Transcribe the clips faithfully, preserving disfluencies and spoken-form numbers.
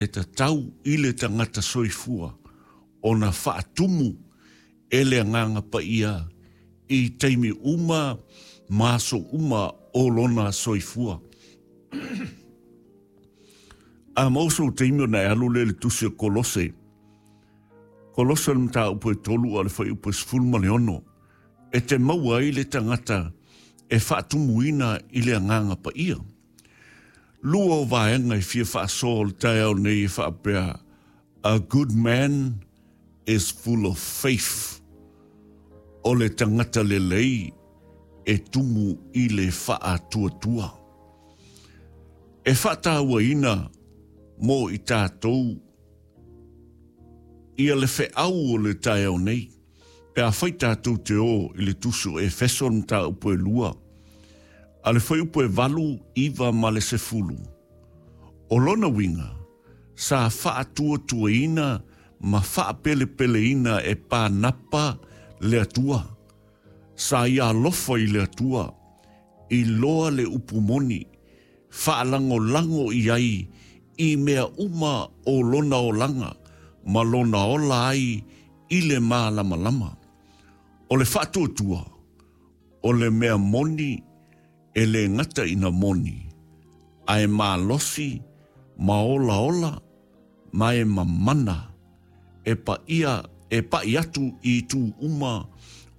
E tatau i le tagata soifua ona faatumu e le Agaga Paia i taimi uma ma aso uma o lona soifua. A maua sou taimi ona e alu lea i le tusi o Kolose. Kolose o le mataupu e tolu a o le fuaiupu e sefulu ma le ono, e te maua ai le tagata e faatumuina i le Agaga Paia. Lua o vaega e fia faasoa o le taeao nei e faapea, a good man is full of faith. O le tagata lelei e tumu i le faatuatua. E faatauaina mo i tatou ia le feau o le taeao nei, pe afai tatou te o i le tusi o Efeso le mataupu e lua, a le fuaiupu e valu, iva ma le sefulu. O lona uiga, sa faatuatuaina ma faapelepeleina e Panapa le Atua. Sa ia alofa i le Atua, iloa le upu moni, faalagolago i ai i mea uma o lona olaga ma lona ola ai i le malamalama. O le faatuatua, o le mea moni e le gata ina moni, ae malosi ma olaola ma e mamana e paia e pai atu i itu uma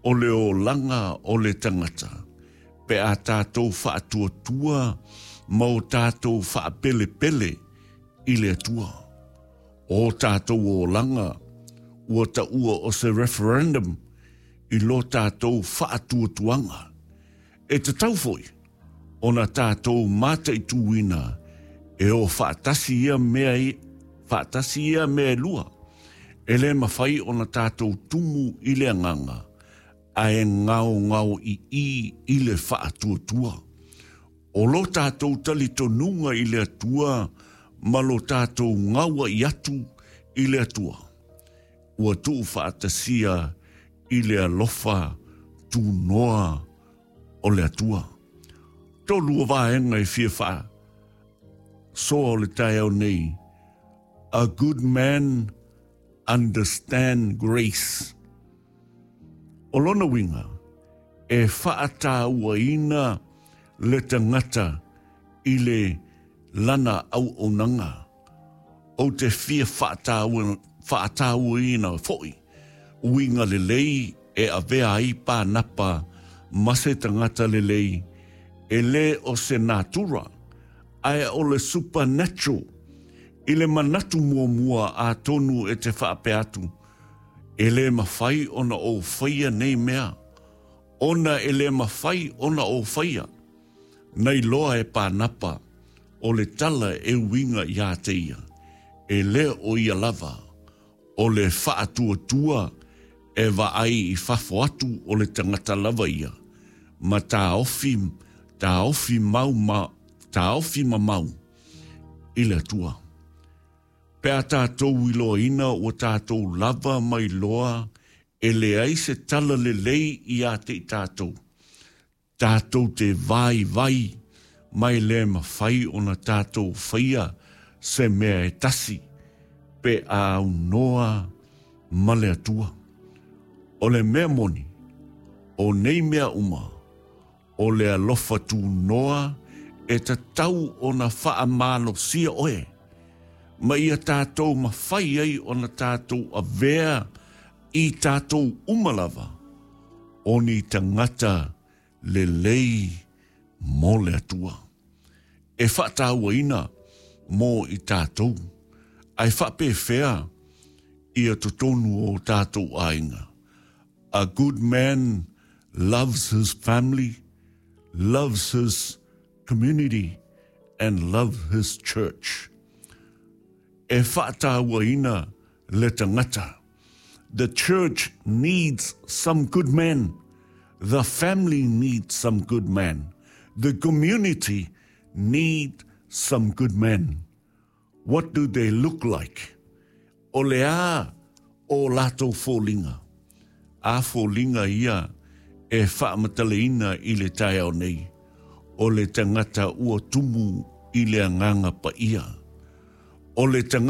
o le olaga o le tagata, pe a tatou faatuatua ma o tatou faapelepele i le Atua. O tatou olaga ua taua o se referendum i lo tatou faatuatuaga. E tatau foi ona tatou mataituina e o faatasi ia mea i, faatasi ia mea e lua. E le mafai ona tatou tumu i le agaga, ae gaogao ii i le faatuatua. O lo tatou talitonuga i le Atua ma lo tatou gauai atu i le Atua, ua tuufaatasia i le alofa tunoa o le Atua. Tolu o vaega e fia faasoa o le taeao nei. A good man understand grace. O lona uiga, e faatauaina le tagata i le lana auaunaga. Ou te fia faataua, faatauaina foi uiga lelei e avea ai Panapa ma se tagata lelei, e le o se natura, ae o le supernatural. I le manatu muamua atonu e te faapea atu, e le mafai ona ou faia nei mea, ona e le mafai ona ou faia. Na iloa e Panapa o le tala e uiga ia te ia, e le o ia lava, o le faatuatua e vaai i fafo atu o le tagata lava ia, ma taofi, taofi mau ma, taofi mamau i le Atua. Pe a tatou iloaina ua tatou lava mai loa e leai se tala lelei ia te i tatou. Tatou te vaivai mai le mafai ona tatou faia se mea e tasi pe a aunoa ma le Atua. O le mea moni, o nei mea uma, o le alofa tunoa e tatau ona faamalosia oe, ma ia tatou mafai ai ona tatou avea i tatou uma lava, o ni tagata lelei mo le Atua. E faatauaina mo i tatou, ae faapefea ia totonu o tatou aiga. A good man loves his family, loves his community, and loves his church. E faatauaina le tagata. The church needs some good men. The family needs some good men. The community need some good men. What do they look like? O le a o latou foliga. A foliga ia e faamatalaina i le taeao nei. O le tagata ua tumu i le Agaga Paia. O le tagata